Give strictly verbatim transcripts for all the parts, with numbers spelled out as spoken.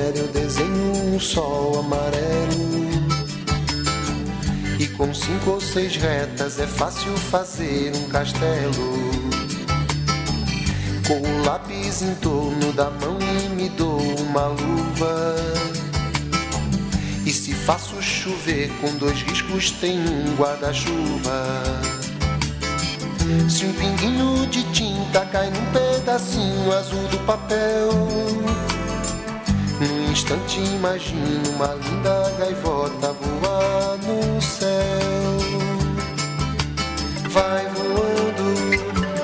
qualquer eu desenho um sol amarelo. E com cinco ou seis retas é fácil fazer um castelo. Com o lápis em torno da mão e me dou uma luva. E se faço chover com dois riscos tem um guarda-chuva. Se um pinguinho de tinta cai num pedacinho azul do papel, num instante imagino uma linda gaivota voar no céu. Vai voando,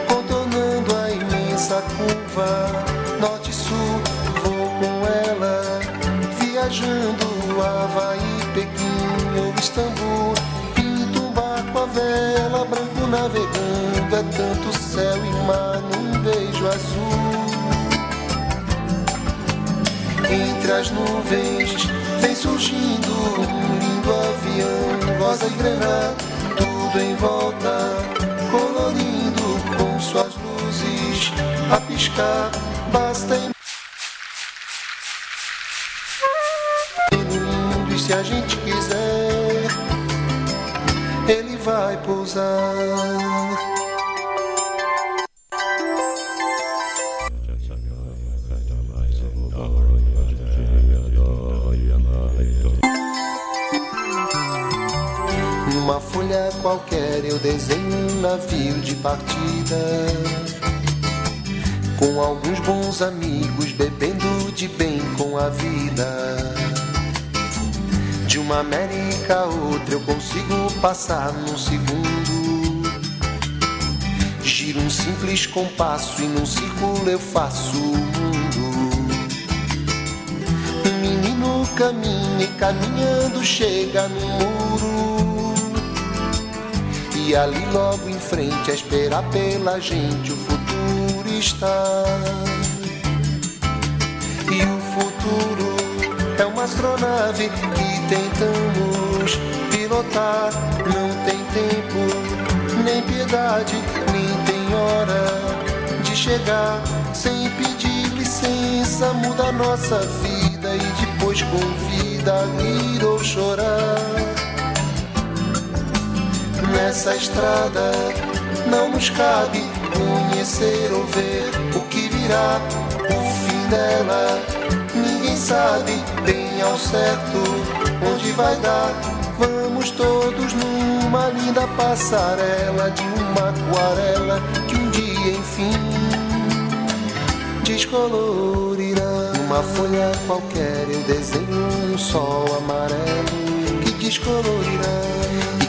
contornando a imensa curva, norte e sul, vou com ela, viajando Havaí, Pequim ou Istambul. Pinto um barco à vela, branco navegando, é tanto céu e mar num beijo azul. Entre as nuvens vem surgindo um lindo avião, rosa e grená, tudo em volta, colorindo com suas luzes a piscar. Basta em lindo, e se a gente quiser, ele vai pousar. Numa folha qualquer eu desenho um navio de partida, com alguns bons amigos bebendo de bem com a vida. De uma América a outra eu consigo passar num segundo. Giro um simples compasso e num círculo eu faço o mundo. Um menino caminha e caminhando chega no muro, e ali logo em frente a esperar pela gente o futuro está. E o futuro é uma astronave que tentamos pilotar. Não tem tempo, nem piedade, nem tem hora de chegar. Sem pedir licença muda a nossa vida e depois convida a rir ou chorar. Nessa estrada não nos cabe conhecer ou ver o que virá, o fim dela. Ninguém sabe bem ao certo onde vai dar. Vamos todos numa linda passarela de uma aquarela que um dia enfim descolorirá. Numa folha qualquer eu desenho um sol amarelo que descolorirá.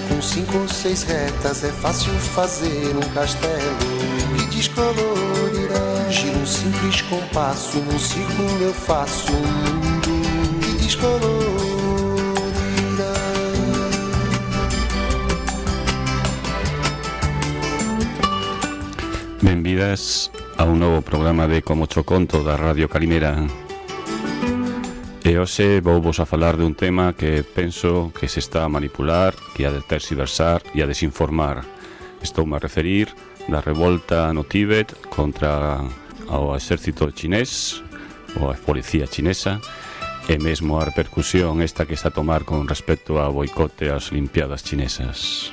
Com cinco ou seis retas é fácil fazer um castelo que descolorirá. Giro um simples compasso e num círculo eu faço um mundo que descolorirá. Benvidas a un novo programa de Como Cho Conto da Radio Calimera. E hoxe vou vos a falar de un tema que penso que se está a manipular, que a tergiversar e a desinformar. Estou-me a referir da revolta no Tíbet contra o exército chinés, ou a policía chinesa, e mesmo a repercusión esta que está a tomar con respecto ao boicote ás Olimpiadas chinesas.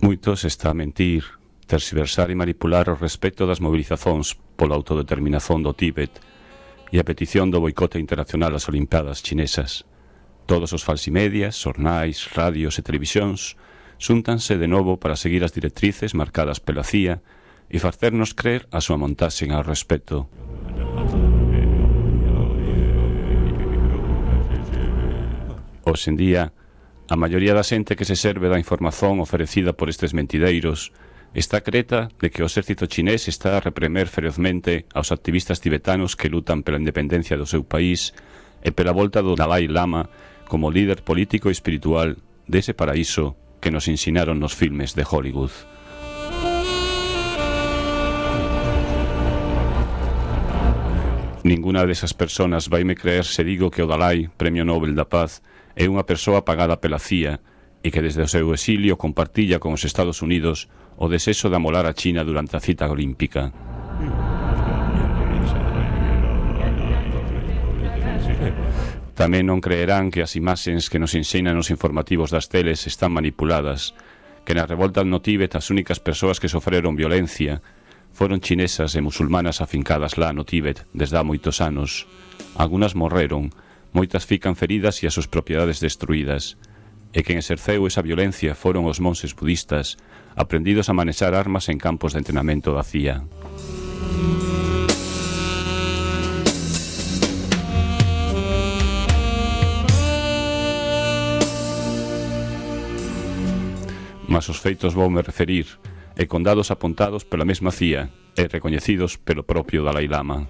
Moitos está a mentir, tergiversar e manipular o respecto das mobilizacións pola autodeterminación do Tíbet e a petición do boicote internacional ás Olimpiadas chinesas. Todos os falsimedias, xornais, radios e televisións xúntanse de novo para seguir as directrices marcadas pela C I A e facernos crer a súa montaxe ao respecto. Hoxe en día, a maioría da xente que se serve da información oferecida por estes mentideiros está creta de que o exército chinés está a repremer ferozmente aos activistas tibetanos que lutan pela independencia do seu país e pela volta do Dalai Lama como líder político e espiritual dese paraíso que nos ensinaron nos filmes de Hollywood. Ninguna desas persoas vaime creer se digo que o Dalai, Premio Nobel da Paz, é unha persoa pagada pela C I A e que desde o seu exilio compartilla con os Estados Unidos o desexo de amolar a China durante a cita olímpica. Tamén non creerán que as imaxes que nos enseñan os informativos das teles están manipuladas, que na revolta no Tíbet as únicas persoas que sofreron violencia foron chinesas e musulmanas afincadas lá no Tíbet desde há moitos anos. Algunas morreron, moitas fican feridas e as súas propiedades destruídas. E quen exerceu esa violencia foron os monses budistas, aprendidos a manexar armas en campos de entrenamento da C I A. Mas os feitos voume referir, e con dados apontados pola mesma C I A e recoñecidos pelo propio Dalai Lama.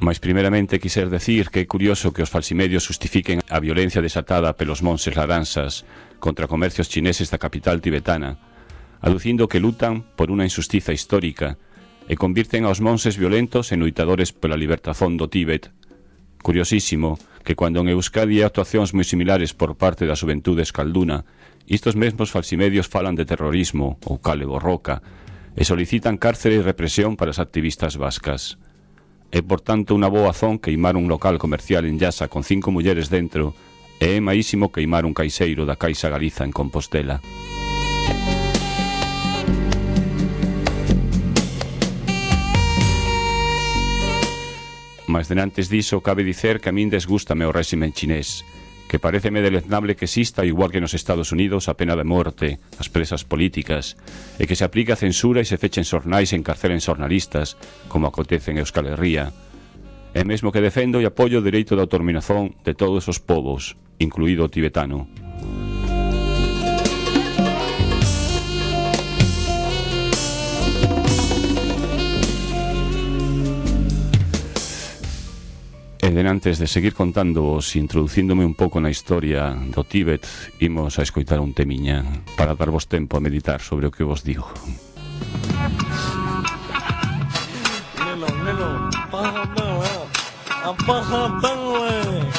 Mais primeramente quiser decir que é curioso que os falsimedios justifiquen a violencia desatada pelos monses laranxas contra comercios chineses da capital tibetana, aducindo que lutan por unha injustiza histórica e convirten aos monses violentos en luitadores pola libertación do Tíbet. Curiosísimo que cando en Euskadi hai actuacións moi similares por parte da xuventude escalduna, estos mesmos falsimedios falan de terrorismo ou cale borroca e solicitan cárcere e represión para as activistas vascas. É, por tanto, unha boa azón queimar un local comercial en Llasa con cinco mulleres dentro e é maísimo queimar un caixeiro da Caixa Galiza en Compostela. Mas denantes diso, cabe dicer que a min desgústame o réximen chinés, que pareceme deleznable que exista, igual que nos Estados Unidos, a pena de morte, as presas políticas, e que se aplica a censura e se fechen xornais e encarcelen xornalistas, como acontece en Euskal Herria. E mesmo que defendo e apoio o dereito de autodeterminación de todos os povos, incluído o tibetano. E denantes de seguir contándoos e introducíndome un pouco na historia do Tíbet, imos a escoitar un temiña para darvos tempo a meditar sobre o que vos digo. Nelo, nelo, apaga la tele,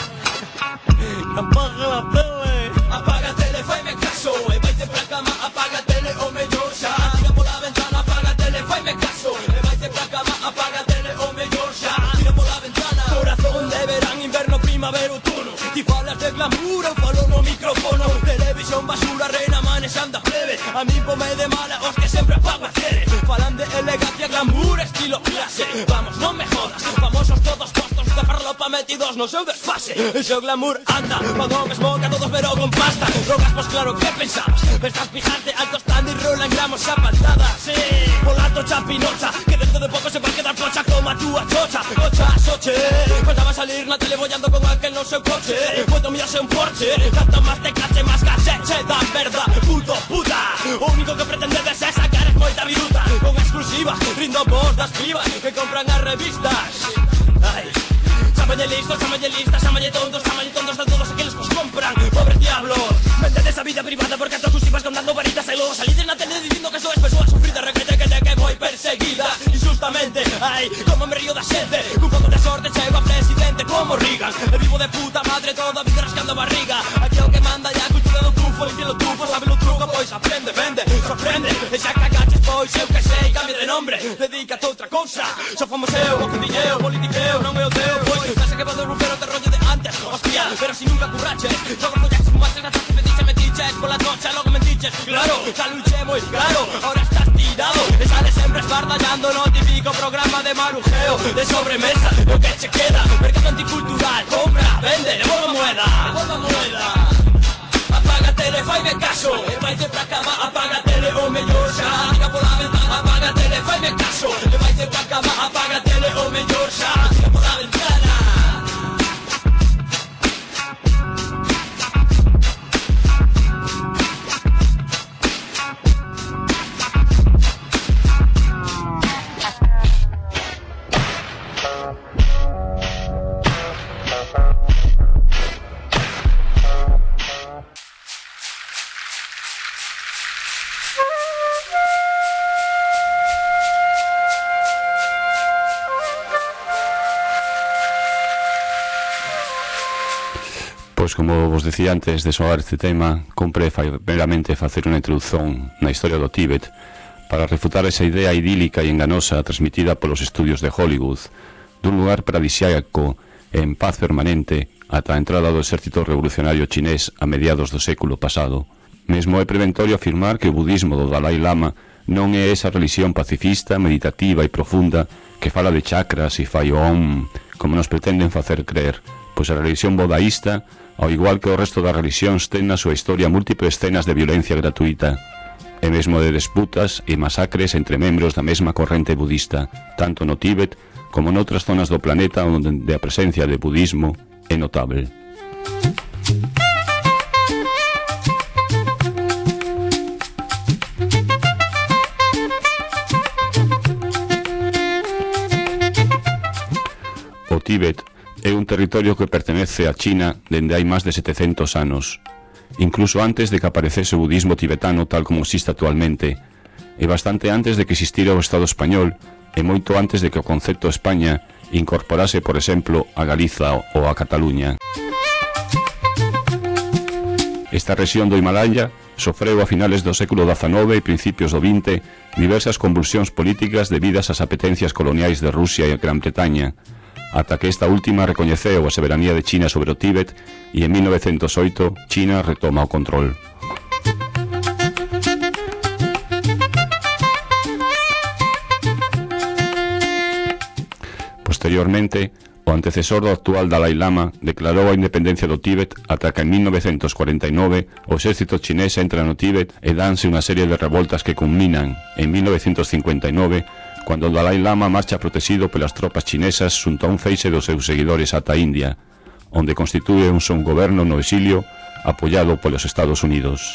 apaga la tele, apaga a tele, faime caso, e vaite pra cama, apaga a tele, o mellor xa, tira pola ventana, apaga a tele, faime caso, e vaite pra cama, apaga a tele, o mellor xa, tira pola ventana, corazón de verán, inverno, primavera, outono, ti falas de glamour, eu falo no micrófono, televisión basura, reina manexando a plebe, a mí pome de mala, os que sempre apago a tele, falan de elegancia, glamour, estilo clase, vamos, non me jodas, famosos todos postos de farlopa metidos no seu desfase, el seu glamour anda, cuando mesmo que a todos pero con pasta, drogas, pues claro, que pensabas, estás pijante, alto stand y rola en gramos a pantada, sí, por alto chapinocha, que dentro de poco se va a quedar pocha como a túa chocha, cocha, soche, faltaba salir na tele bollando con aquel no seu coche, puedo mirarse un Porsche, tanto más te cache, más caché, che, da verdad, puto, puta, o único que pretendedes é sacar es moita viruta, con exclusiva, rindo vos das pibas que compran as revistas, ai, chamalle listos, chamalle listas, chamalle tontos, chamalle tontos de todos aqueles que os compran, pobres diablos, vendedes a vida privada porque a todos ibas contando varitas e logo salides na tele dicindo que sois persoas sufridas, requete que te que moi perseguida, injustamente, ai, como me río da xente, cun pouco de sorte chego a presidente como Reagan, e vivo de puta madre toda a vida rascando a barriga, aquí o que manda ya a cultura do tufo, e pelo tufo, sabe o truco, pois aprende, vende, sorprende, e xa cagaches, pois eu que sei, cambia de nombre, dedícate a outra cousa, só fomos eu, o que diñeu, politiqueo, non é o teu, pois, pensa que vado romper o terrollo de antes, hostia, pero si nunca curraches, logo follaches, fumaches, gastaste, petiche, metiches, pola noche, logo mentiches, claro, xa luché moi claro, ahora estás tirado, e sales sempre esbardallando no típico programa de marujeo, de sobremesa, o que che queda, mercado anticultural, compra, vende, devolva moeda, devolva moeda, apaga a tele, faime caso, e vaite pra cama, apaga a tele, o mellor xa, tira pola ventana, apaga a tele, faime caso, e vaite pra cama, apaga a tele, o mellor xa, tira pola ventana. Pois como vos decía antes de soar este tema, compre primeramente facer unha introdución na historia do Tíbet para refutar esa idea idílica e enganosa transmitida polos estudios de Hollywood dun lugar paradisíaco en paz permanente ata a entrada do exército revolucionario chinés a mediados do século pasado. Mesmo é preventorio afirmar que o budismo do Dalai Lama non é esa religión pacifista, meditativa e profunda que fala de chakras e fai o om, como nos pretenden facer creer, pois a religión budaísta, ao igual que o resto das religións, ten na súa historia múltiples escenas de violencia gratuita, e mesmo de disputas e masacres entre membros da mesma corrente budista, tanto no Tíbet como noutras zonas do planeta onde a presencia de budismo é notable. O Tíbet é un territorio que pertenece a China dende hai máis de setecentos anos, incluso antes de que aparecese o budismo tibetano tal como existe actualmente, e bastante antes de que existira o Estado español, e moito antes de que o concepto España incorporase, por exemplo, a Galiza ou a Cataluña. Esta rexión do Himalaya sofreu a finales do século dezanove e principios do vinte diversas convulsións políticas debidas ás apetencias coloniais de Rusia e Gran Bretaña, ata que esta última recoñeceu a soberanía de China sobre o Tíbet e en mil novecentos oito China retoma o control. Posteriormente, o antecesor do actual Dalai Lama declarou a independencia do Tíbet ata que en mil novecentos cuarenta e nove o exército chinés entra no Tíbet e danse unha serie de revoltas que culminan en mil novecentos cincuenta e nove cando o Dalai Lama marcha protegido pelas tropas chinesas xunto a un feixe dos seus seguidores ata a India, onde constitúe un son goberno no exilio apoiado polos Estados Unidos.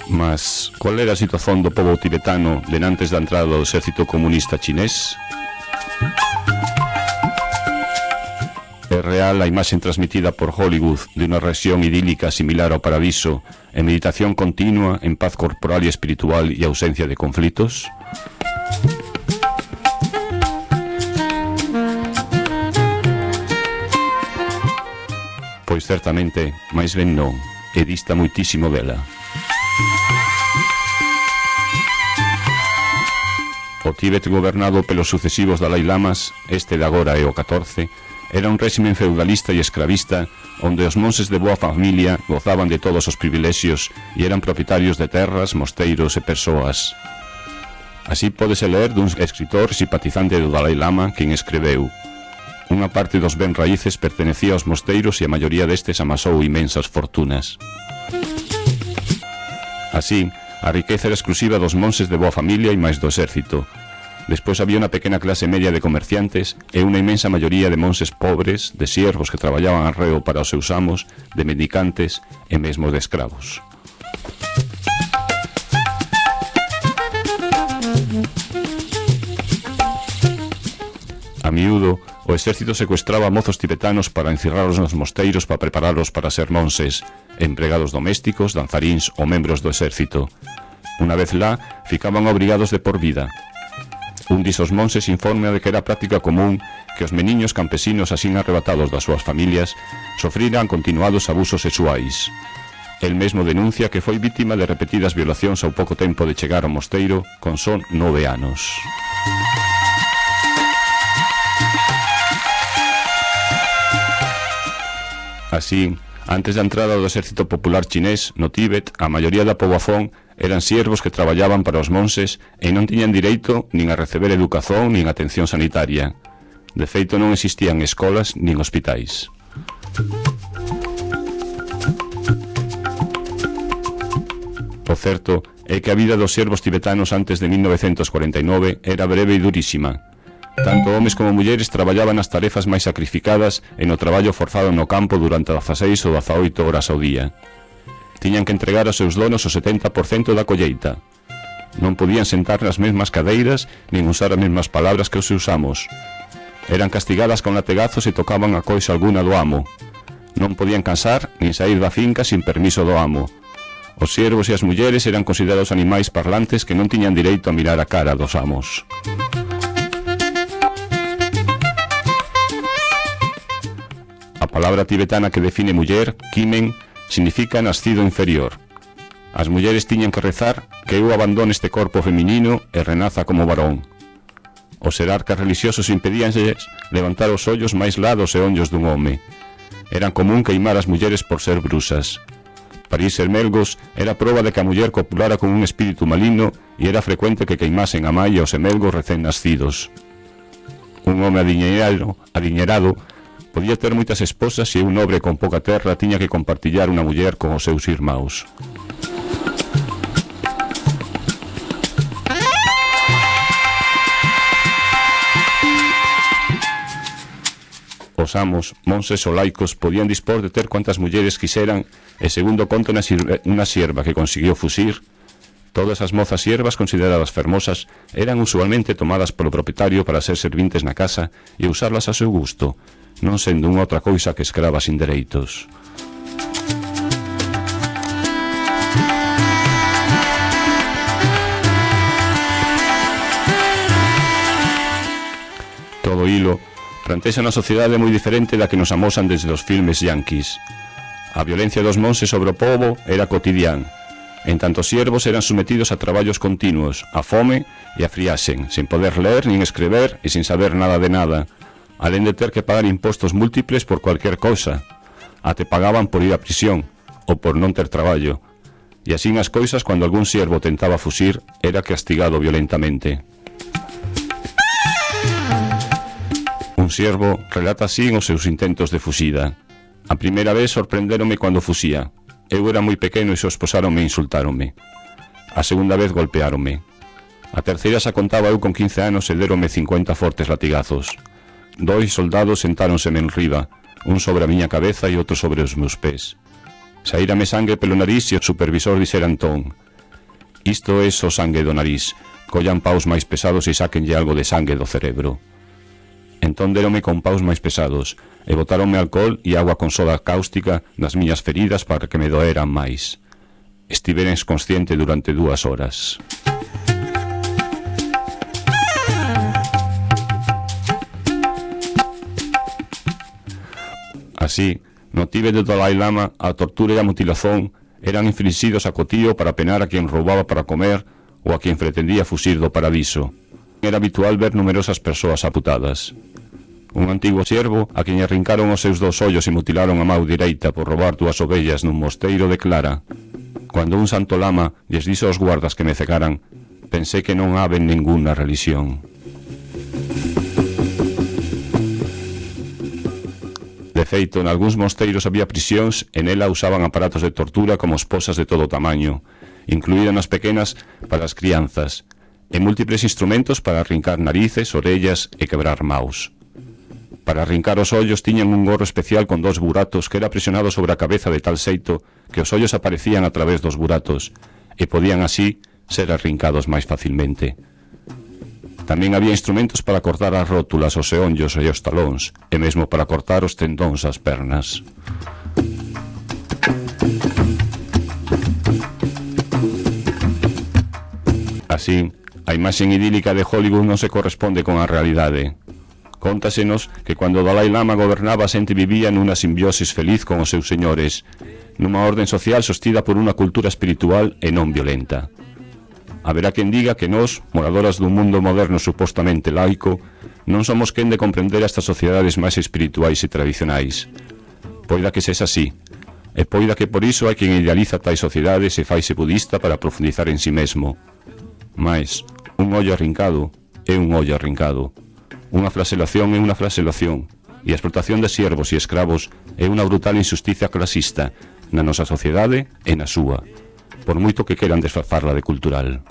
Mas, cual era a situación do pobo tibetano denantes da entrada do exército comunista chinés? É real a imaxe transmitida por Hollywood de unha rexión idílica similar ao paraíso, en meditación continua, en paz corporal e espiritual e ausencia de conflitos? Pois certamente, máis ben non, e dista moitísimo dela. O Tíbet gobernado pelos sucesivos Dalai Lamas, este de agora é o catorce, era un réximen feudalista e escravista onde os monses de boa familia gozaban de todos os privilexios e eran propietarios de terras, mosteiros e persoas. Así pódese ler dun escritor simpatizante do Dalai Lama quen escreveu: unha parte dos ben raíces pertenecía aos mosteiros e a maioría destes amasou imensas fortunas. Así, a riqueza era exclusiva dos monses de boa familia e máis do exército. Despois había unha pequena clase media de comerciantes e unha inmensa maioría de monses pobres, de siervos que traballaban arreo para os seus amos, de mendicantes e mesmo de escravos. A miúdo, o exército secuestraba mozos tibetanos para encerralos nos mosteiros para preparalos para ser monses, empregados domésticos, danzaríns ou membros do exército. Unha vez lá, ficaban obrigados de por vida. Un disos monses informa de que era práctica común que os meniños campesinos así arrebatados das súas familias sofriran continuados abusos sexuais. El mesmo denuncia que foi vítima de repetidas violacións ao pouco tempo de chegar ao mosteiro con só nove anos. Así, antes da entrada do exército popular chinés no Tíbet, a maioría da poboación eran siervos que traballaban para os monses e non tiñan direito nin a receber educación nin atención sanitaria. De feito, non existían escolas nin hospitais. O certo é que a vida dos siervos tibetanos antes de mil novecentos cuarenta e nove era breve e durísima. Tanto homes como mulleres traballaban nas tarefas máis sacrificadas e no traballo forzado no campo durante dezaseis ou dezaoito horas ao día. Tiñan que entregar aos seus donos o setenta por cento da colleita. Non podían sentar nas mesmas cadeiras nin usar as mesmas palabras que os seus amos. Eran castigadas con lategazos e tocaban a coisa alguna do amo. Non podían casar nin saír da finca sin permiso do amo. Os siervos e as mulleres eran considerados animais parlantes que non tiñan direito a mirar a cara dos amos. A palabra tibetana que define muller, kimen, significa nascido inferior. As mulleres tiñan que rezar que eu abandone este corpo feminino e renaza como varón. Os xerarcas religiosos impedíanlles levantar os ollos máis lados e ollos dun home. Eran común queimar as mulleres por ser brusas. Para ir ser melgos era prova de que a muller copulara con un espírito maligno e era frecuente que queimasen a mai e os emelgos recén nascidos. Un home adiñeirado, adiñerado podía ter moitas esposas e un nobre con pouca terra tiña que compartillar unha muller con os seus irmãos. Os amos, monses ou laicos podían dispor de ter cuantas mulleres quixeran e, segundo conta unha sierva que consiguió fusir, todas as mozas siervas consideradas fermosas eran usualmente tomadas polo propietario para ser servintes na casa e usarlas a seu gusto, non sendo unha outra cousa que escravas sin dereitos. Todo hilo plantexa unha sociedade moi diferente da que nos amosan desde os filmes yanquis. A violencia dos monses sobre o pobo era cotidián. En tanto os siervos eran sometidos a traballos continuos, a fome e a friaxen, sin poder ler nin escrever e sin saber nada de nada, alén de ter que pagar impostos múltiples por cualquier cousa. Até pagaban por ir a prisión, ou por non ter traballo. E así as cousas, cando algún siervo tentaba fusir, era castigado violentamente. Un siervo relata así os seus intentos de fusida. A primeira vez sorprendéronme cando fusía. Eu era moi pequeno e se esposáronme e insultáronme. A segunda vez golpeáronme. A terceira xa contaba eu con quince anos e deronme cincuenta fortes latigazos. Dois soldados sentáronse en riba, un sobre a miña cabeza e outro sobre os meus pés. Saírame sangue pelo nariz e o supervisor dixera entón: isto é só sangue do nariz, collan paus máis pesados e sáquenlle algo de sangue do cerebro. Entón deronme con paus máis pesados e botaronme alcohol e agua con soda cáustica nas miñas feridas para que me doeran máis. Estivera inconsciente durante dúas horas. Así, no Tíbet do Dalai Lama, a tortura e a mutilación eran inflixidos a cotío para penar a quen roubaba para comer ou a quen pretendía fusir do paradiso. Era habitual ver numerosas persoas amputadas. Un antigo siervo a quen arrincaron os seus dos ollos e mutilaron a mau direita por roubar dúas ovellas nun mosteiro de Clara. Cando un santo lama lles dixo aos guardas que me cegaran, pensei que non habe ninguna religión. De feito, en algúns mosteiros había prisións e nela usaban aparatos de tortura como esposas de todo tamaño, incluídas as pequenas para as crianzas, e múltiples instrumentos para arrincar narices, orellas e quebrar maus. Para arrincar os ollos tiñan un gorro especial con dos buratos que era presionado sobre a cabeza de tal xeito que os ollos aparecían a través dos buratos e podían así ser arrincados máis facilmente. Tamén había instrumentos para cortar as rótulas, os eonllos e os talóns, e mesmo para cortar os tendóns das pernas. Así, a imaxen idílica de Hollywood non se corresponde con a realidade. Cóntasenos que cando o Dalai Lama gobernaba a xente vivía nunha simbiosis feliz con os seus señores, nunha orden social sostida por unha cultura espiritual e non violenta. Haberá quen diga que nós, moradoras dun mundo moderno supostamente laico, non somos quen de comprender estas sociedades máis espirituais e tradicionais. Poida que sexa así, e poida que por iso hai quen idealiza tais sociedades e faise budista para profundizar en si mesmo. Mais, un ollo arrincado é un ollo arrincado. Unha flagelación é unha flagelación, e a explotación de siervos e escravos é unha brutal injusticia clasista na nosa sociedade e na súa, por moito que queran desfazarla de cultural.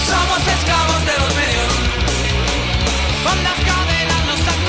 Somos esclavos de los medios, con las cadenas nos han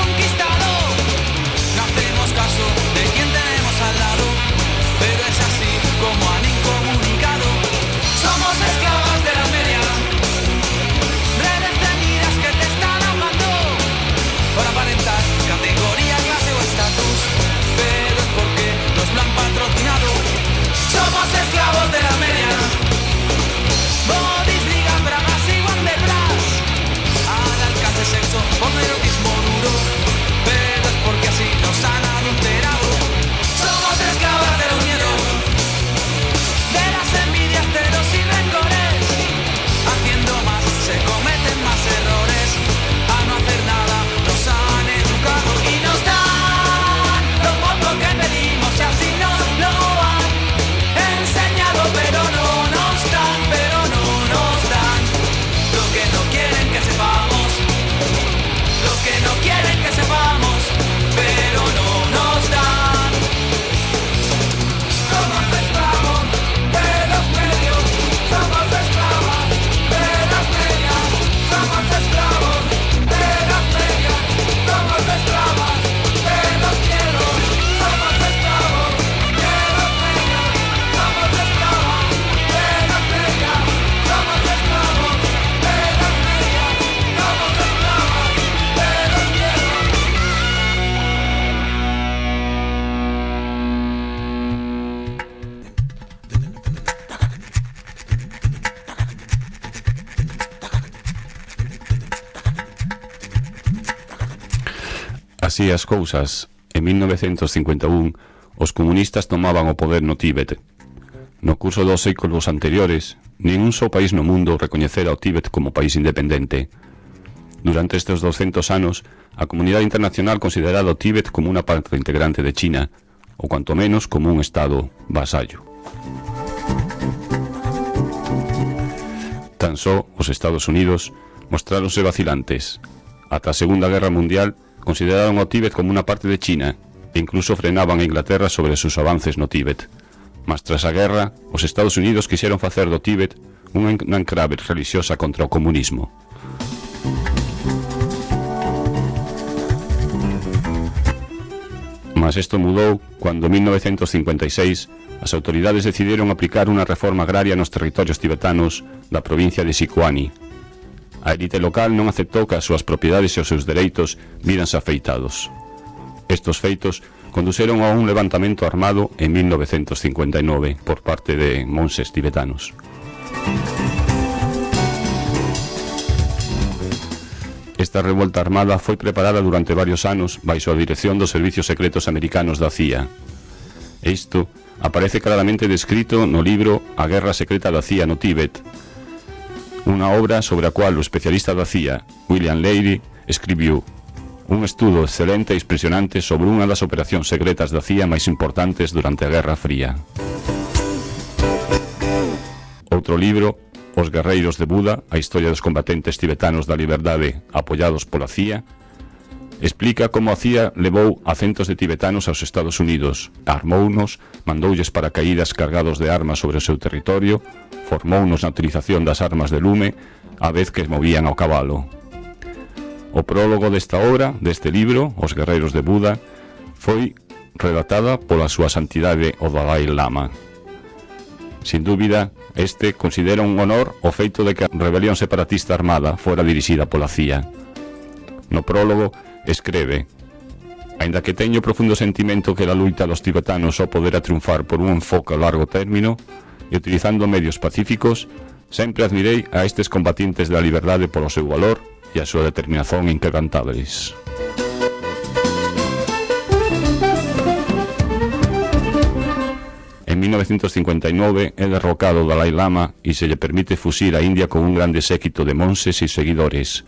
Así as cousas, en mil novecentos cincuenta e un, os comunistas tomaban o poder no Tíbet. No curso dos séculos anteriores, ningún só país no mundo recoñecera o Tíbet como país independente. Durante estes doscientos anos, a comunidade internacional consideraba o Tíbet como unha parte integrante de China, ou cuanto menos como un estado vasallo. Tan só os Estados Unidos mostráronse vacilantes. Ata a Segunda Guerra Mundial consideraron o Tíbet como unha parte de China e incluso frenaban a Inglaterra sobre os seus avances no Tíbet. Mas tras a guerra, os Estados Unidos quixeron facer do Tíbet unha enclave religiosa contra o comunismo. Mas isto mudou cando en mil novecentos cincuenta e seis as autoridades decidiron aplicar unha reforma agraria nos territorios tibetanos da provincia de Sichuan. A élite local non aceptou que as súas propiedades e os seus dereitos víranse afeitados. Estos feitos conduceron a un levantamento armado en mil novecentos cincuenta e nove por parte de monxes tibetanos. Esta revolta armada foi preparada durante varios anos baixo a dirección dos servicios secretos americanos da C I A. Isto aparece claramente descrito no libro A Guerra Secreta da C I A no Tíbet, unha obra sobre a cual o especialista da C I A, William Leiry, escribiu un estudo excelente e impresionante sobre unha das operacións secretas da C I A máis importantes durante a Guerra Fría. Outro libro, Os guerreiros de Buda, a historia dos combatentes tibetanos da liberdade apoiados pola C I A, explica como a C I A levou a centos de tibetanos aos Estados Unidos, armounos, mandoulles paracaídas cargados de armas sobre o seu territorio, formounos na utilización das armas de lume, a vez que movían ao cabalo. O prólogo desta obra, deste libro, Os guerreiros de Buda, foi redactada pola súa santidade o Dalai Lama. Sin dúbida, este considera un honor o feito de que a rebelión separatista armada fora dirixida pola C I A. No prólogo, escreve: aínda que teño profundo sentimento que a luita dos tibetanos só poderá triunfar por un enfoque a largo término e utilizando medios pacíficos, sempre admirei a estes combatientes da liberdade polo seu valor e a súa determinación inquebrantables. En mil novecentos cincuenta e nove é derrocado o Dalai Lama e se lle permite fuxir a India con un grande séquito de monxes e seguidores.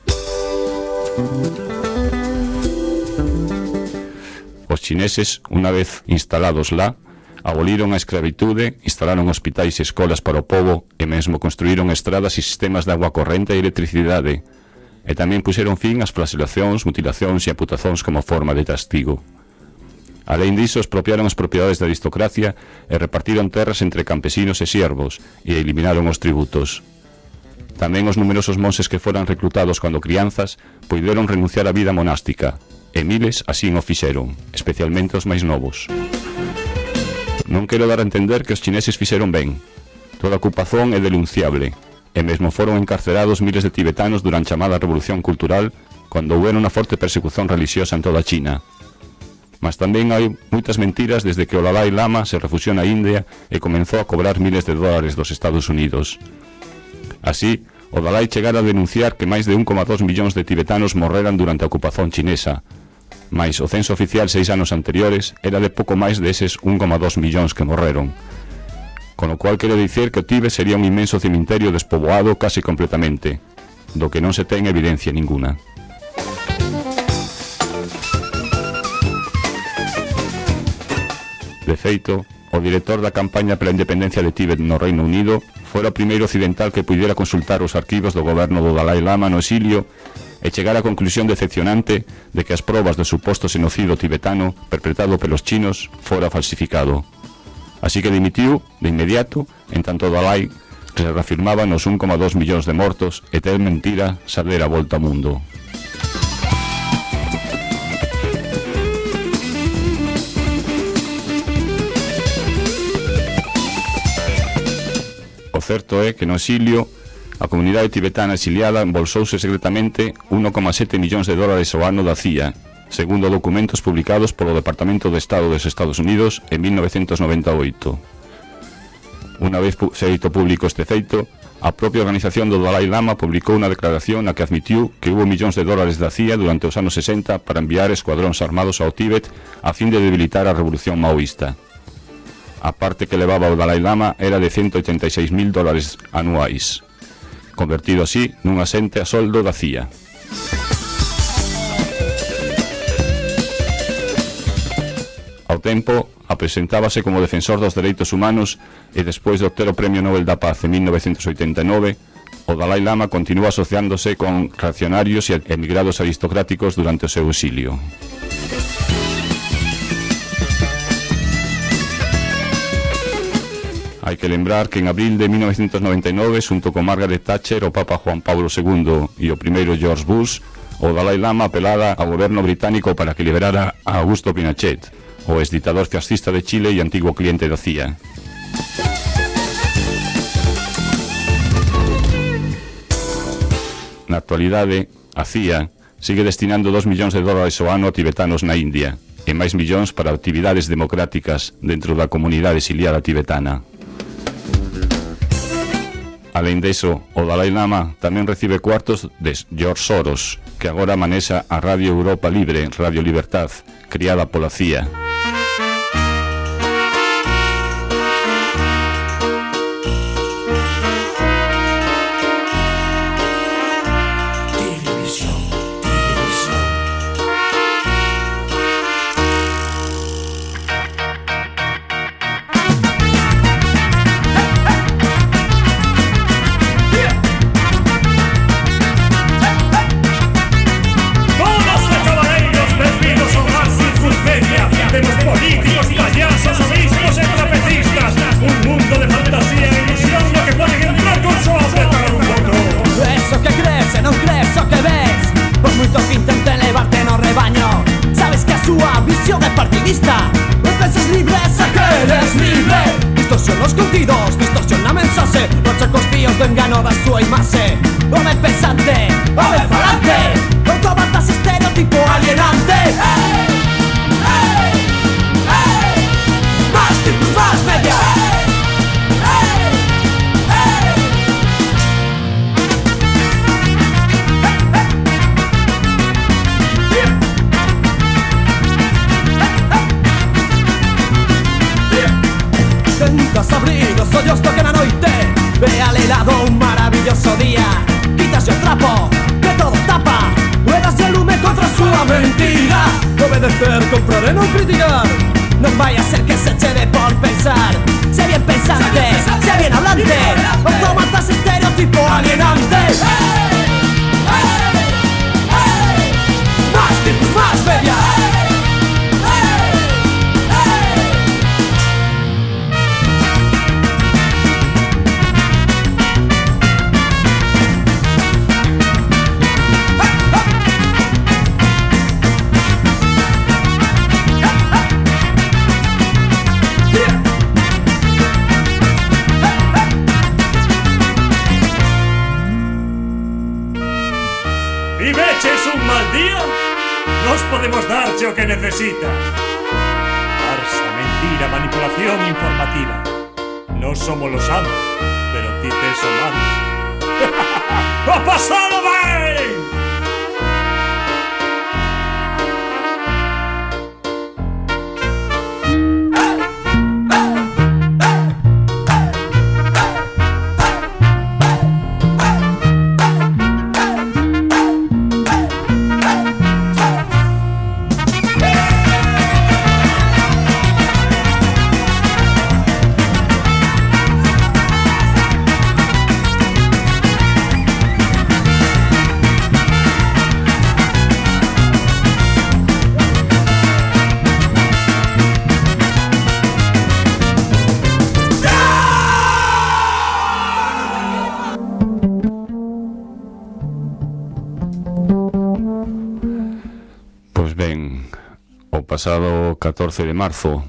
Os chineses, unha vez instalados lá, aboliron a escravitude, instalaron hospitais e escolas para o pobo e mesmo construíron estradas e sistemas de agua corrente e electricidade, e tamén puxeron fin ás flagelacións, mutilacións e amputacións como forma de castigo. Alén diso, expropiaron as propiedades da aristocracia e repartiron terras entre campesinos e siervos e eliminaron os tributos. Tamén os numerosos monxes que foran reclutados cando crianzas puideron renunciar á vida monástica, e miles así o fixeron, especialmente os máis novos. Non quero dar a entender que os chineses fixeron ben. Toda ocupación é denunciable, e mesmo foron encarcerados miles de tibetanos durante a chamada Revolución Cultural, cando houve unha forte persecución religiosa en toda China. Mas tamén hai moitas mentiras desde que o Dalai Lama se refuxiou na India e comenzou a cobrar miles de dólares dos Estados Unidos. Así, o Dalai chegara a denunciar que máis de un coma dos millóns de tibetanos morreran durante a ocupación chinesa, mais o censo oficial seis anos anteriores era de pouco máis deses un coma dos millóns que morreron. Con o cual quero dicir que o Tíbet sería un inmenso cemiterio despoboado case completamente, do que non se ten evidencia ninguna. De feito, o director da campaña pola independencia de Tíbet no Reino Unido fora o primeiro occidental que puidera consultar os arquivos do goberno do Dalai Lama no exilio e chegar á conclusión decepcionante de que as probas do suposto xenocidio tibetano perpetrado pelos chinos fora falsificado. Así que dimitiu de inmediato, en tanto o Dalai que se reafirmaba nos un coma dos millóns de mortos e ter mentira saber a volta ao mundo. O certo é que no exilio a comunidade tibetana exiliada embolsouse secretamente un coma sete millóns de dólares ao ano da C I A, segundo documentos publicados polo Departamento de Estado dos Estados Unidos en mil novecentos noventa e oito. Unha vez feito público este feito, A propia organización do Dalai Lama publicou unha declaración na que admitiu que hubo millóns de dólares da C I A durante os anos sesenta para enviar escuadróns armados ao Tíbet a fin de debilitar a revolución maoísta. A parte que levaba o Dalai Lama era de ciento ochenta e seis mil dólares anuais, convertido así nun asente a soldo da C I A. Ao tempo, apresentábase como defensor dos dereitos humanos e despois de obter o Premio Nobel da Paz en mil novecientos oitenta e nove, o Dalai Lama continúa asociándose con reaccionarios e emigrados aristocráticos durante o seu exilio. Hai que lembrar que en abril de mil novecientos noventa e nove, xunto con Margaret Thatcher, o Papa Juan Pablo segundo e o primeiro George Bush, o Dalai Lama apelara ao goberno británico para que liberara a Augusto Pinochet, o exdictador fascista de Chile e antigo cliente da C I A. Na actualidade, a C I A sigue destinando dos millóns de dólares ao ano a tibetanos na India e máis millóns para actividades democráticas dentro da comunidade exiliada tibetana. Alén deso, o Dalai Lama tamén recibe cuartos de George Soros, que agora manexa a Radio Europa Libre, Radio Libertad, criada pola C I A. Pasado catorce de marzo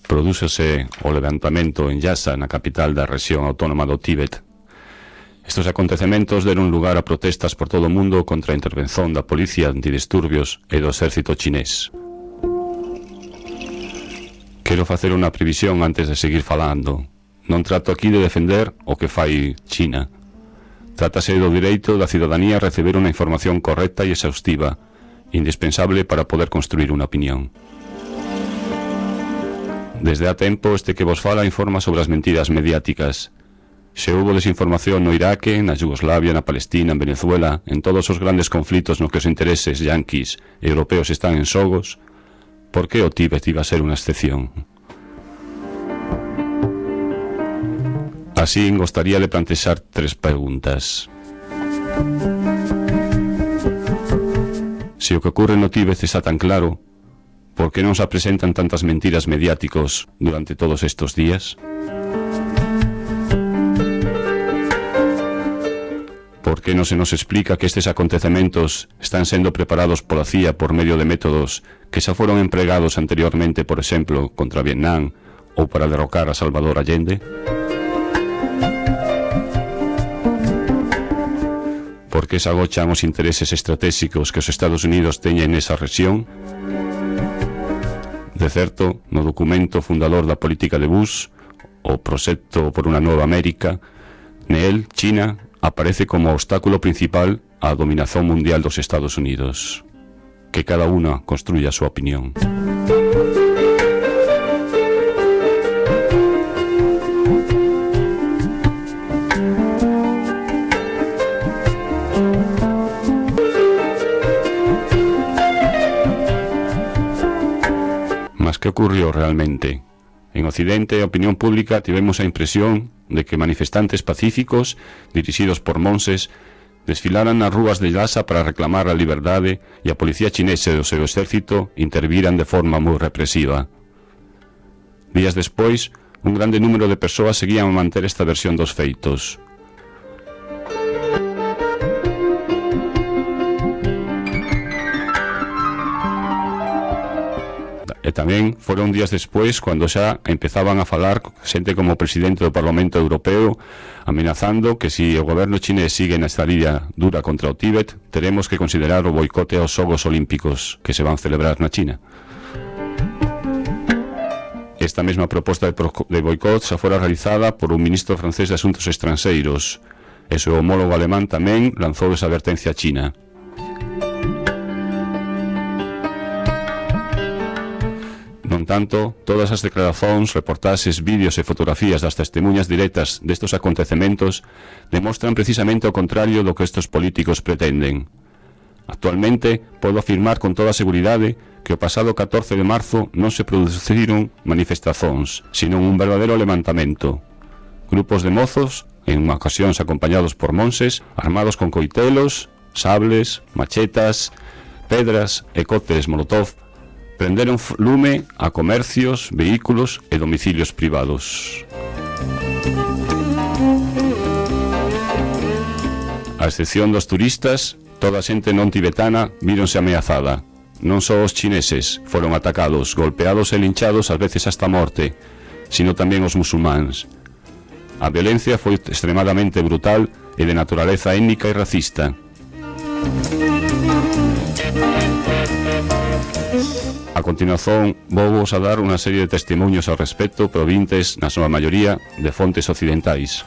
prodúcese o levantamento en Lhasa, na capital da rexión autónoma do Tíbet. Estos acontecementos deron lugar a protestas por todo o mundo contra a intervención da policía antidisturbios e do exército chinés. Quero facer unha previsión antes de seguir falando. Non trato aquí de defender o que fai China, Trátase do direito da cidadanía a receber unha información correcta e exhaustiva, indispensable para poder construir unha opinión. Desde há tempo este que vos fala informa sobre as mentiras mediáticas. Se houbo desinformación no Iraque, na Yugoslavia, na Palestina, en Venezuela, en todos os grandes conflitos nos que os intereses yanquis e europeos están en xogos, por que o Tíbet iba a ser unha excepción? Así, gostaría de plantexar tres preguntas. Se o que ocurre no Tíbet está tan claro, por que non se presentan tantas mentiras mediáticos durante todos estes días? Por que non se nos explica que estes acontecementos están sendo preparados pola C I A por medio de métodos que xa foron empregados anteriormente, por exemplo, contra Vietnam ou para derrocar a Salvador Allende? Por que se agochan os intereses estratégicos que os Estados Unidos teñen nesa rexión? De certo, no documento fundador da política de Bush, o Proxecto por unha Nova América, nel, China aparece como obstáculo principal á dominación mundial dos Estados Unidos. Que cada unha construya a súa opinión. Mas que ocurrió realmente? En Occidente, a opinión pública tivemos a impresión de que manifestantes pacíficos, dirixidos por monses, desfilaran nas rúas de Lhasa para reclamar a liberdade e a policía chinesa e o seu exército interviran de forma moi represiva. Días despois, un grande número de persoas seguían a manter esta versión dos feitos. E tamén foron días despois cando xa empezaban a falar xente como o presidente do Parlamento Europeo amenazando que se o goberno chinés sigue nesta lidia dura contra o Tíbet, teremos que considerar o boicote aos Xogos Olímpicos que se van celebrar na China. Esta mesma proposta de, de boicot xa fora realizada por un ministro francés de Asuntos Estranxeiros e o seu homólogo alemán tamén lanzou esa advertencia a China. Non tanto, todas as declaracións, reportaxes, vídeos e fotografías das testemunhas directas destes acontecementos demostran precisamente o contrario do que estes políticos pretenden. Actualmente, podo afirmar con toda a seguridade que o pasado catorce de marzo non se produciron manifestacións, sino un verdadeiro levantamento. Grupos de mozos, en ocasións acompañados por monses, armados con coitelos, sables, machetas, pedras e cócteles molotov, prenderon lume a comercios, vehículos e domicilios privados. A excepción dos turistas, toda a xente non tibetana víronse ameazada. Non só os chineses foron atacados, golpeados e linchados ás veces hasta a morte, sino tamén os musulmáns. A violencia foi extremadamente brutal e de naturaleza étnica e racista. A continuación, vou vos a dar unha serie de testemunhos ao respecto provintes, na súa maioría, de fontes occidentais.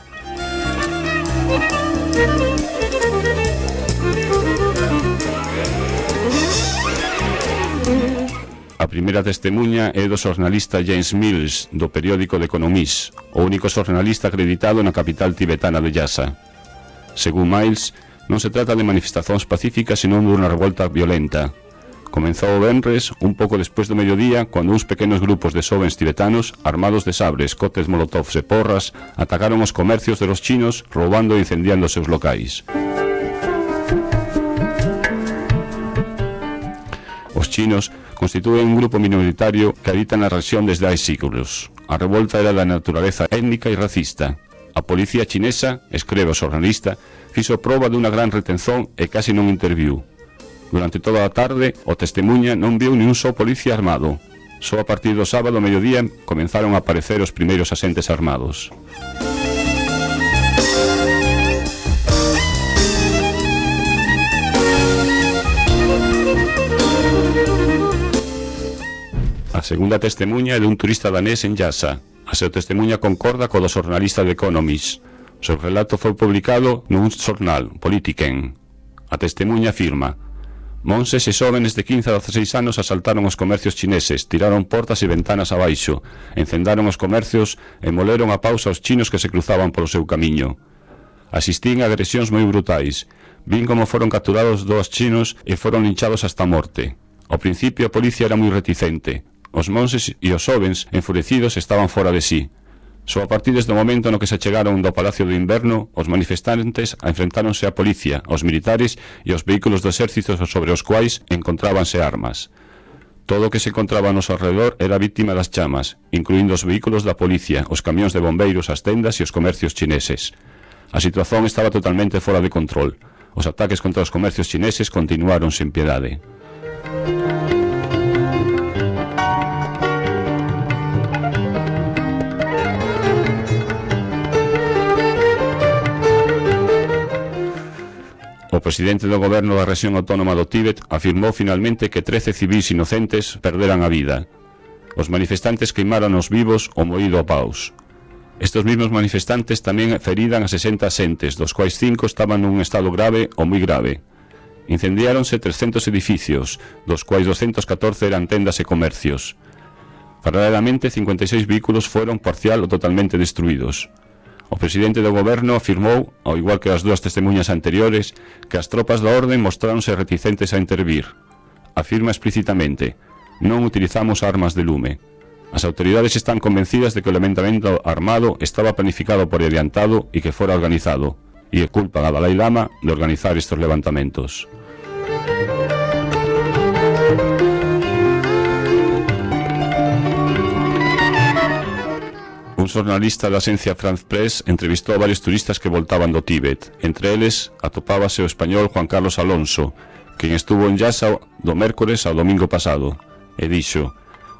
A primeira testemunha é do xornalista James Mills, do periódico The Economist, o único xornalista acreditado na capital tibetana de Lhasa. Según Miles, non se trata de manifestacións pacíficas, senón dunha revolta violenta. Comenzou o venres, un pouco despois do mediodía, cando uns pequenos grupos de xovens tibetanos, armados de sabres, cotes molotovs e porras, atacaron os comercios de los chinos, roubando e incendiando os seus locais. Os chinos constitúen un grupo minoritario que habita na rexión desde hai siglos. A revolta era da naturaleza étnica e racista. A policía chinesa, escreve o xornalista, fixo proba dunha gran retención e casi non interviu. Durante toda a tarde, o testemunha non viu ni un só policía armado. Só a partir do sábado ao mediodía comenzaron a aparecer os primeiros asentes armados. A segunda testemunha é dun turista danés en Lhasa. A seu testemunha concorda co do xornalista de Economist. Seu relato foi publicado nun xornal, Politiken. A testemunha afirma: monses e xóvenes de quince a dezasseis anos asaltaron os comercios chineses, tiraron portas e ventanas abaixo, encendaron os comercios e moleron a pausa aos chinos que se cruzaban polo seu camiño. Asistín a agresións moi brutais. Vin como foron capturados dous chinos e foron linchados hasta a morte. Ao principio a policía era moi reticente. Os monses e os xóvens, enfurecidos, estaban fora de sí. Só a partir do momento no que se chegaron do Palacio do Inverno, os manifestantes enfrentáronse á policía, aos militares e aos vehículos do exército sobre os quais encontrábanse armas. Todo o que se encontraba ao noso alrededor era víctima das chamas, incluindo os vehículos da policía, os camións de bombeiros, as tendas e os comercios chineses. A situación estaba totalmente fora de control. Os ataques contra os comercios chineses continuaron sen piedade. O presidente do goberno da rexión autónoma do Tíbet afirmou finalmente que trece civís inocentes perderan a vida. Os manifestantes queimaron os vivos o moído a paus. Estes mesmos manifestantes tamén feridan a sesenta xentes, dos quais cinco estaban nun estado grave ou moi grave. Incendiáronse trescentos edificios, dos quais doscientos catorce eran tendas e comercios. Paralelamente, cincuenta e seis vehículos foron parcial ou totalmente destruídos. O presidente do goberno afirmou, ao igual que as dúas testemunhas anteriores, que as tropas da orden mostráronse reticentes a intervir. Afirma explícitamente: non utilizamos armas de lume. As autoridades están convencidas de que o levantamento armado estaba planificado por adiantado e que fora organizado, e culpan a Dalai Lama de organizar estes levantamentos. Un xornalista da axencia France Press entrevistou a varios turistas que voltaban do Tíbet. Entre eles, atopábase o español Juan Carlos Alonso, quen estuvo en Lhasa do mércores ao domingo pasado, e dixo: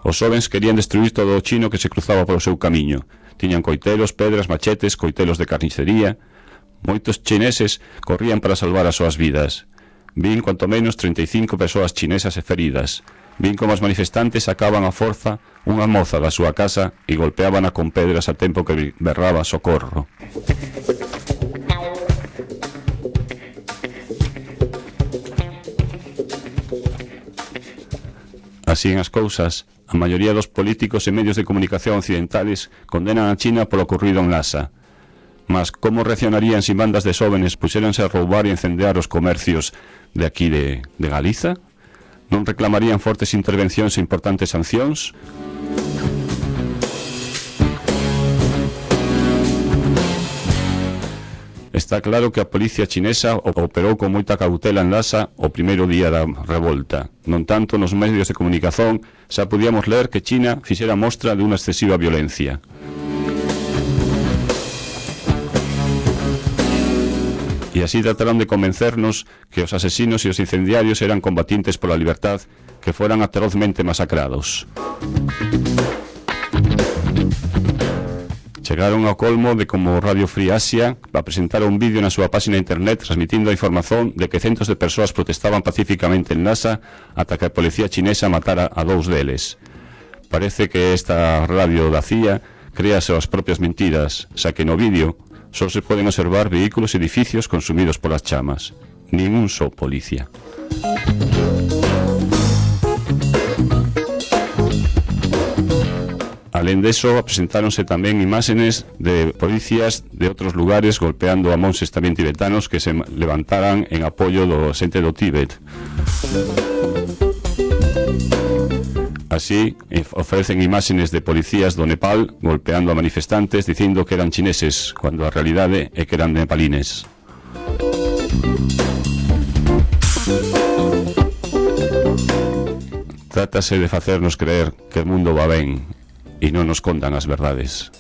os xóvens querían destruir todo o chino que se cruzaba polo seu camiño. Tiñan coitelos, pedras, machetes, coitelos de carnicería. Moitos chineses corrían para salvar as súas vidas. Vin cuanto menos trinta e cinco persoas chinesas e feridas. Vin como os manifestantes sacaban a forza unha moza da súa casa e golpeábana con pedras a tempo que berraba socorro. Así en as cousas, a maioría dos políticos e medios de comunicación occidentales condenan a China polo ocorrido en Lhasa. Mas como reaccionarían se bandas de xóvenes puxéronse a roubar e incendiar os comercios de aquí de, de Galiza? Non reclamarían fortes intervencións e importantes sancións? Está claro que a policía chinesa operou con moita cautela en Lhasa o primeiro día da revolta. Non tanto nos medios de comunicación xa podíamos ler que China fixera mostra de unha excesiva violencia. E así trataron de convencernos que os asesinos e os incendiarios eran combatientes pola libertad que foran atrozmente masacrados. Chegaron ao colmo de como Radio Free Asia a presentar un vídeo na súa página de internet transmitindo a información de que centos de persoas protestaban pacíficamente en Lhasa ata que a policía chinesa matara a dous deles. Parece que esta radio da C I A crea as súas propias mentiras, xa que no vídeo só se poden observar vehículos e edificios consumidos polas chamas. Nin un só policía. Alén deso, presentáronse tamén imágenes de policías de outros lugares golpeando a monses tamén tibetanos que se levantaran en apoio do xente do Tíbet. Así, ofrecen imágenes de policías do Nepal golpeando a manifestantes dicindo que eran chineses, cuando a realidade é que eran nepalines. Trátase de facernos creer que o mundo va ben e non nos contan as verdades.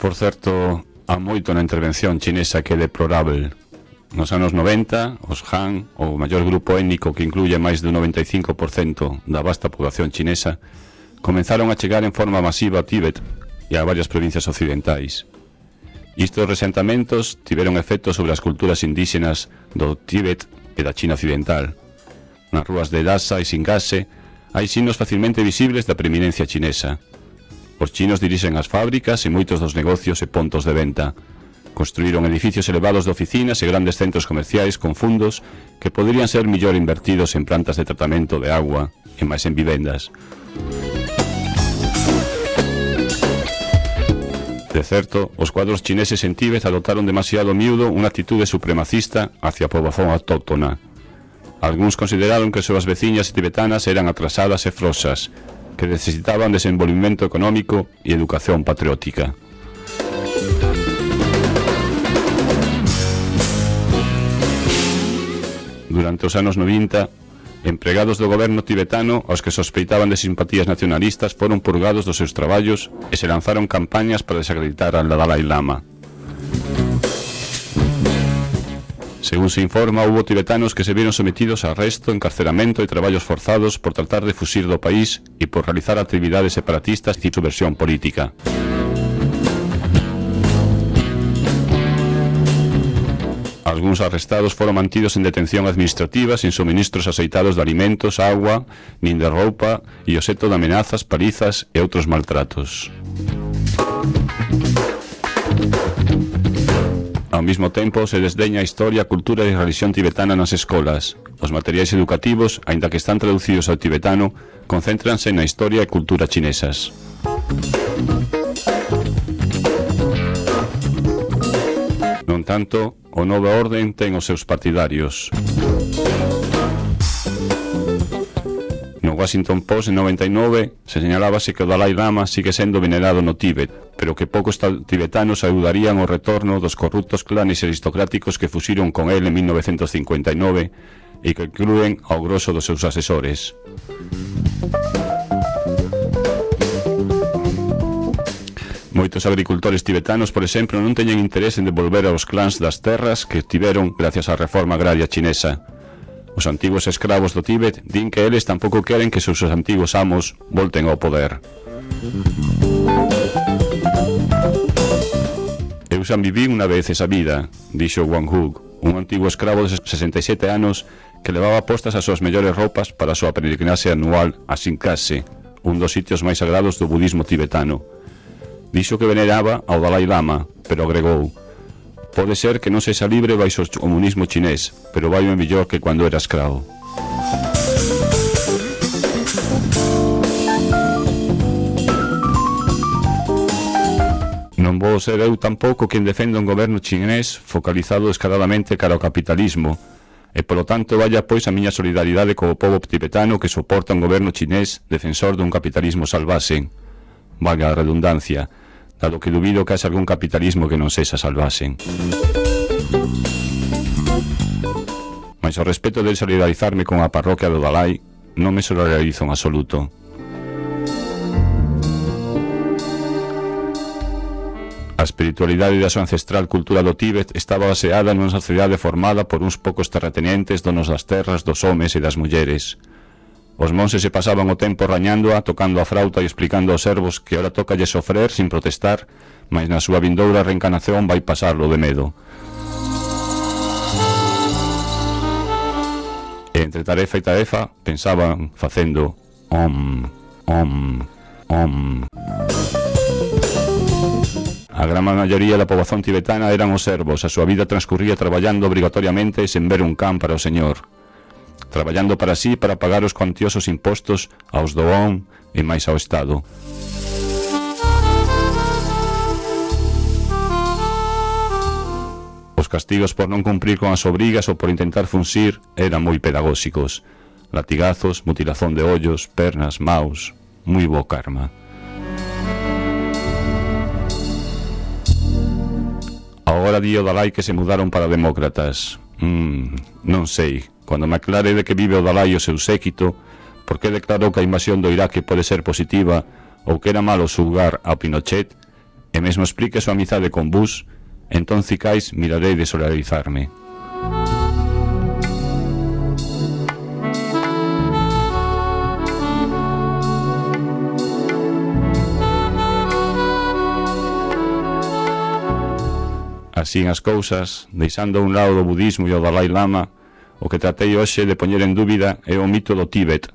Por certo, há moito na intervención chinesa que é deplorável. Nos anos noventa, os Han, o maior grupo étnico que incluye máis do noventa e cinco por cento da vasta población chinesa, comenzaron a chegar en forma masiva a Tíbet e a varias provincias occidentais. Estes resentamentos tiveron efectos sobre as culturas indígenas do Tíbet e da China occidental. Nas rúas de Lhasa e Singase hai signos facilmente visibles da preeminencia chinesa. Os chinos dirixen as fábricas e moitos dos negocios e pontos de venta. Construíron edificios elevados de oficinas e grandes centros comerciais con fundos que poderían ser mellor invertidos en plantas de tratamento de agua e máis en vivendas. De certo, os cuadros chineses en Tíbet adoptaron demasiado miúdo unha actitude supremacista hacia a poboación autóctona. Algúns consideraron que as súas veciñas tibetanas eran atrasadas e frosas, que necesitaban desenvolvimento económico e educación patriótica. Durante os anos noventa, empregados do goberno tibetano aos que sospeitaban de simpatías nacionalistas foron purgados dos seus traballos e se lanzaron campañas para desacreditar al Dalai Lama. Según se informa, hubo tibetanos que se vieron sometidos a arresto, encarceramento e traballos forzados por tratar de fuxir do país e por realizar actividades separatistas e subversión política. Algúns arrestados foron mantidos en detención administrativa sin suministros aceitados de alimentos, agua, nin de roupa e obxecto de amenazas, palizas e outros maltratos. Ao mesmo tempo, se desdeña a historia, a cultura e a religión tibetana nas escolas. Os materiais educativos, aínda que están traducidos ao tibetano, concéntranse na historia e cultura chinesas. Non tanto, o Nova Orden ten os seus partidarios. No Washington Post en noventa e nove se señalábase que o Dalai Lama sigue sendo venerado no Tíbet, pero que poucos tibetanos ayudarían ao retorno dos corruptos clanes aristocráticos que fuxiron con el en mil novecientos cincuenta e nove e que incluen ao grosso dos seus asesores. Moitos agricultores tibetanos, por exemplo, non teñen interés en devolver aos clans das terras que tiveron gracias á reforma agraria chinesa. Os antigos escravos do Tíbet din que eles tampouco queren que seus antigos amos volten ao poder. Eu xa viví unha vez esa vida, dixo Wang Hu, un antigo escravo de sesenta e sete anos que levaba postas as súas mellores roupas para a súa peregrinaxe anual a Singase, un dos sitios máis sagrados do budismo tibetano. Dixo que veneraba ao Dalai Lama, pero agregou: pode ser que non sexa libre baixo o comunismo chinés, pero vai o mellor que cando era escravo. Non vou ser eu tampouco quen defenda un goberno chinés focalizado descaradamente cara ao capitalismo, e polo tanto vaya pois a miña solidaridade co pobo tibetano que soporta un goberno chinés defensor dun capitalismo salvaxe. Valga a redundancia, dado que dubido que haxa algún capitalismo que non sexa salvaxe. Mas ao respecto de solidarizarme con a parroquia do Dalai, non me solidarizo en absoluto. A espiritualidade da súa ancestral cultura do Tíbet estaba baseada nunha sociedade formada por uns poucos terratenientes donos das terras, dos homes e das mulleres. Os monses se pasaban o tempo rañándoa, tocando a frauta e explicando aos servos que ora tocalle sofrer sin protestar, mas na súa vindoura reencarnación vai pasarlo de medo. E entre tarefa e tarefa pensaban facendo om, om, om. A gran maioría da poboación tibetana eran os servos, a súa vida transcurría traballando obrigatoriamente sen ver un can para o señor, traballando para sí para pagar os cuantiosos impostos aos do Om e máis ao Estado. Os castigos por non cumprir con as obrigas ou por intentar funxir eran moi pedagóxicos. Latigazos, mutilazón de ollos, pernas, maus, moi bo karma. Agora di o Dalai que se mudaron para demócratas. Mm, non sei. Cando me aclare de que vive o Dalai o seu séquito, por que declarou que a invasión do Iraque pode ser positiva ou que era malo xugar ao Pinochet, e mesmo explique a súa amizade con vos, entón cicais mirarei de solidarizarme. Así as cousas, deixando a un lado o budismo e o Dalai Lama, o que tratei hoxe de poñer en dúbida é o mito do Tíbet,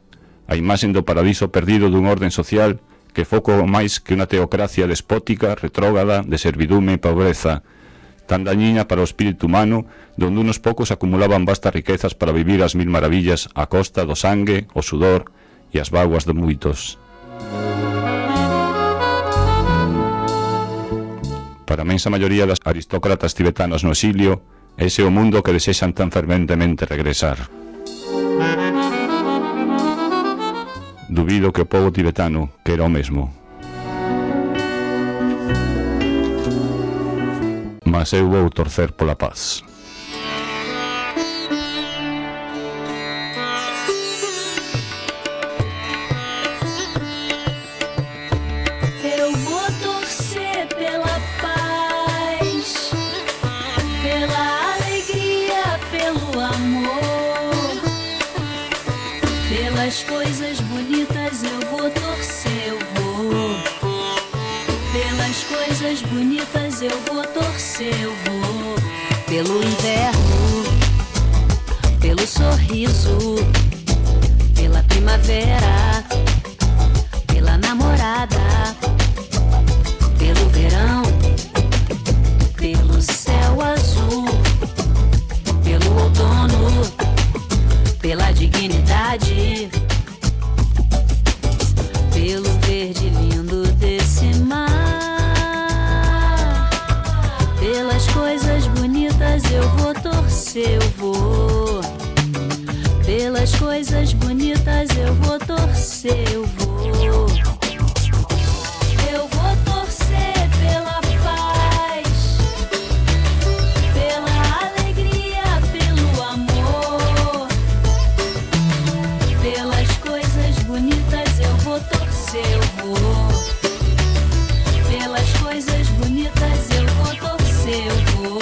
a imaxen do paraíso perdido dun orden social que foco máis que unha teocracia despótica, retrógrada, de servidume e pobreza, tan dañina para o espírito humano, donde unos poucos acumulaban vastas riquezas para vivir as mil maravillas a costa do sangue, o sudor e as vaguas de moitos. Para a mensa maioría das aristócratas tibetanos no exilio, ese é o mundo que desexan tan ferventemente regresar. Dubido que o povo tibetano quera o mesmo. Mas eu vou torcer pola paz. Eu vou torcer pela paz, pela alegria, pelo amor, pelas coisas bonitas eu vou torcer, eu vou. Pelas coisas bonitas eu vou torcer, eu vou. Pelo inverno, pelo sorriso, pela primavera, pela namorada, pelo verão, pelo céu azul, pelo outono, pela dignidade, pelo verde lindo desse mar. Pelas coisas bonitas eu vou torcer, eu vou. Pelas coisas bonitas eu vou torcer, eu vou. Eu vou torcer pela paz, pela alegria, pelo amor. Pelas coisas bonitas eu vou torcer, eu vou. Pelas coisas bonitas eu vou torcer, eu vou.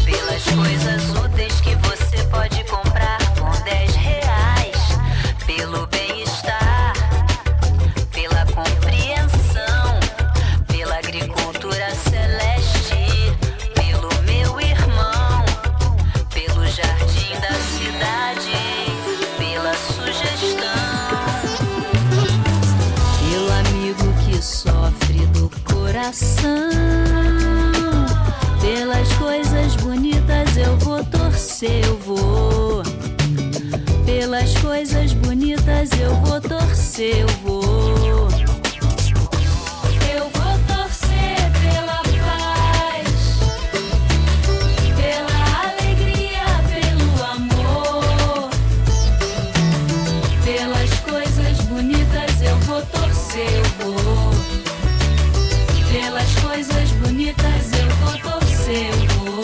Pelas coisas úteis que você pode comprar com dez reais. Pelo bem-estar, pela compreensão, pela agricultura celeste, pelo meu irmão, pelo jardim da cidade, pela sugestão, pelo amigo que sofre do coração. Pelas coisas bonitas eu vou torcer, eu vou. Pelas coisas bonitas eu vou torcer, eu vou. Eu vou torcer pela paz, pela alegria, pelo amor. Pelas coisas bonitas eu vou torcer, eu vou. Pelas coisas bonitas eu vou torcer, eu vou.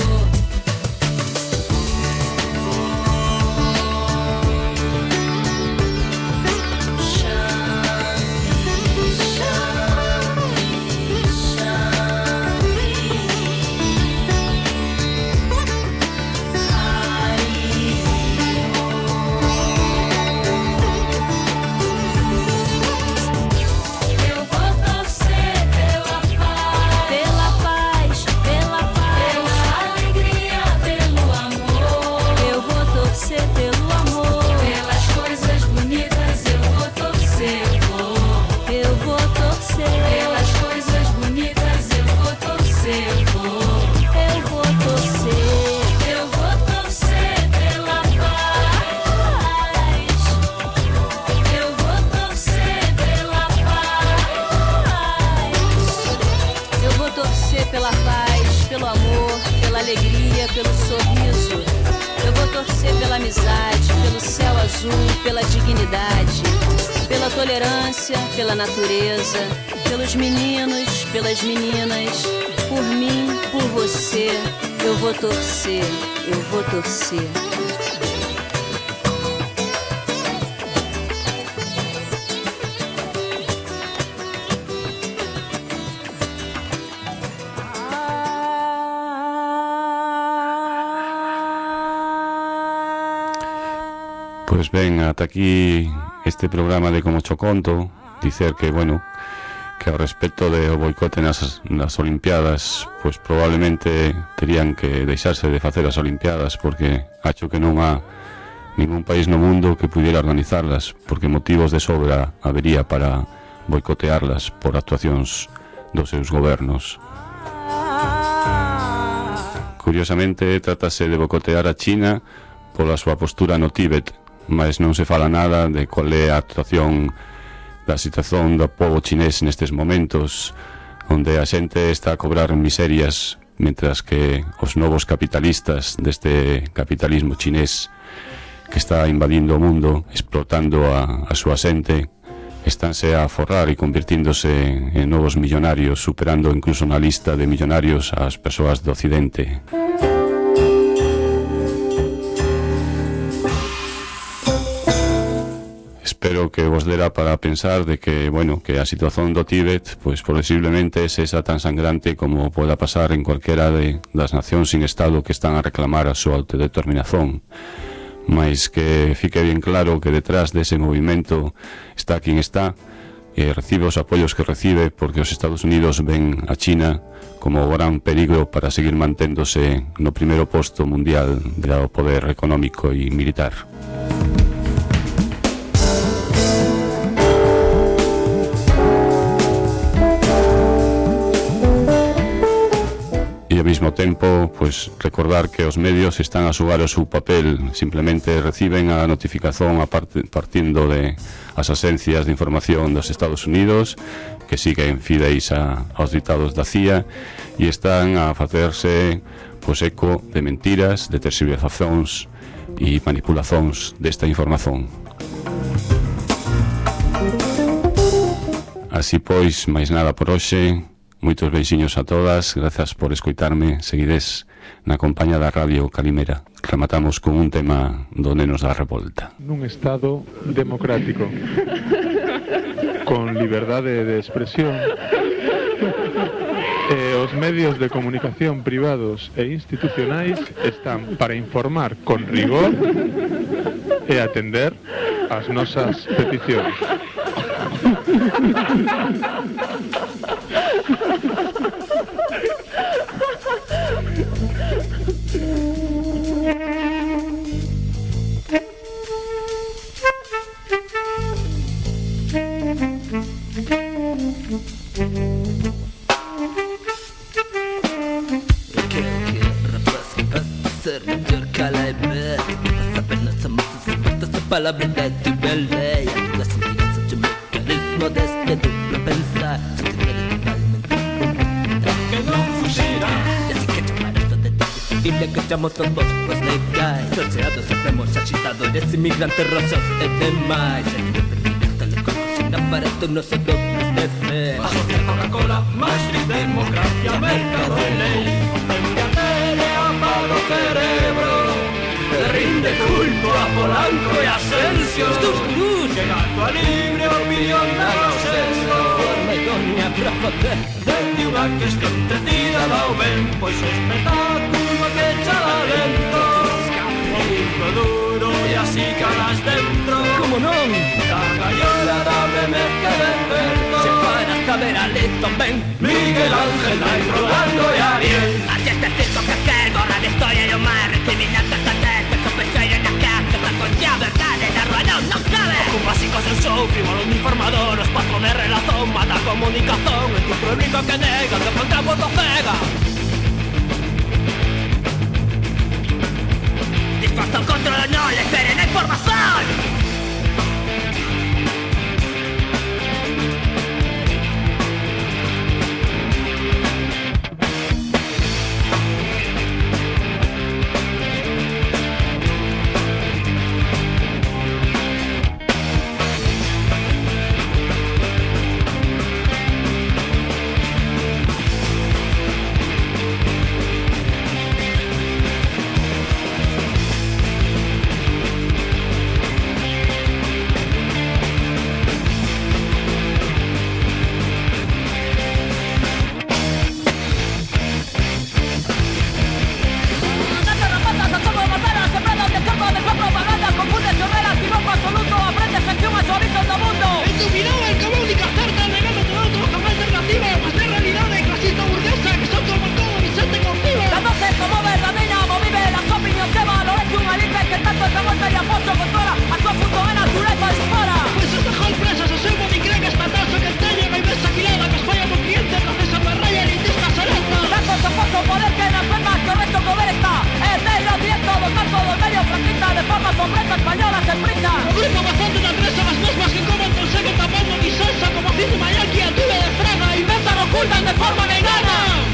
Pelo sorriso, eu vou torcer pela amizade, pelo céu azul, pela dignidade, pela tolerância, pela natureza, pelos meninos, pelas meninas, por mim, por você, eu vou torcer, eu vou torcer. Pois ben, ata aquí este programa de Como Cho Conto. Dicer que, bueno, que ao respecto de o boicote nas, nas Olimpiadas, pois probablemente terían que deixarse de facer as Olimpiadas, porque acho que non há ningún país no mundo que pudiera organizarlas, porque motivos de sobra habería para boicotearlas por actuacións dos seus gobernos. Curiosamente, trátase de boicotear a China pola súa postura no Tíbet, mas non se fala nada de cual é a actuación da situación do povo chinés nestes momentos, onde a xente está a cobrar miserias, mentras que os novos capitalistas deste capitalismo chinés que está invadindo o mundo, explotando a, a súa xente, estánse a forrar e convirtíndose en novos millonarios, superando incluso na lista de millonarios ás persoas do Occidente. Espero que vos dera para pensar de que, bueno, que a situación do Tíbet, pois posiblemente sexa tan sangrante como poda pasar en cualquera de das nacións sin Estado que están a reclamar a súa autodeterminación. Mais que fique bien claro que detrás dese movimento está quen está e recibe os apoios que recibe, porque os Estados Unidos ven a China como o gran peligro para seguir manténdose no primeiro posto mundial do poder económico e militar. E ao mesmo tempo, pues, recordar que os medios están a xogar o seu papel, simplemente reciben a notificación a part partindo de as agencias de información dos Estados Unidos, que siguen fideis a, aos ditados da C I A, e están a facerse, pues, eco de mentiras, de tergiversacións e manipulacións desta información. Así pois, máis nada por hoxe. Moitos beixiños a todas, grazas por escoitarme. Seguides na compañía da Radio Calimera. Rematamos con un tema do Nenos da Revolta. Nun estado democrático, con liberdade de expresión, e os medios de comunicación privados e institucionais están para informar con rigor e atender as nosas peticións. La verdad tu bella y la sentencia tu mecanismo de este duplo pensar que no fugiera así que tomar esto de ti y le cachamos todos pues le cae torceados supremos agitadores inmigrantes rosos y demás sin aparato no se dobles de fe bajo de Coca-Cola Maastricht democracia mercado de ley hombre tele apago cerebro le rinde culto a Polanco y Asensio tus cruz que gato a libre opinión da consenso forma idónea para facer desde unha cuestión tecida dao ben pois o espectáculo que echa lento o disco duro e así calas dentro como non da gallola da remezca de certo se para saber a listo ben Miguel Ángel Nai Rolando e Ariel así este circo que que gorra de historia e o mar recriminante hasta ya verdad en la rueda no cabe con básicos del show, frívolo uniformador los patrones relación, mata comunicación en tu público que nega, que contra voto pega dispuesto al control, no le esperen la información. Tengo bastante de presa las mesmas que como conseguen tapando mi salsa como dice Mayaki al tube de frega. Inventan, ocultan de forma vegana.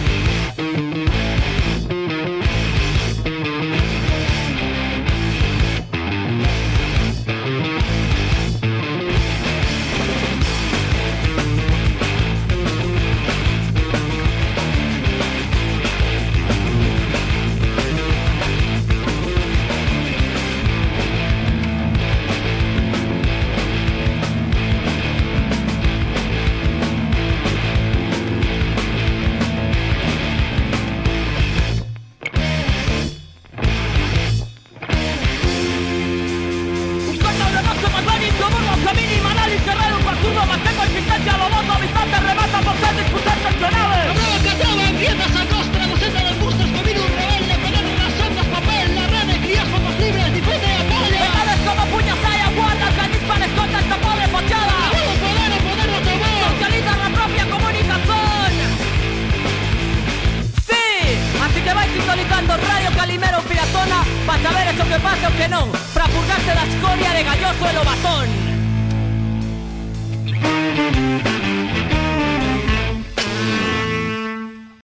Radio Calimero Piratona para saber eso que pasa o que non, para purgarte la escoria de galloso e lo batón.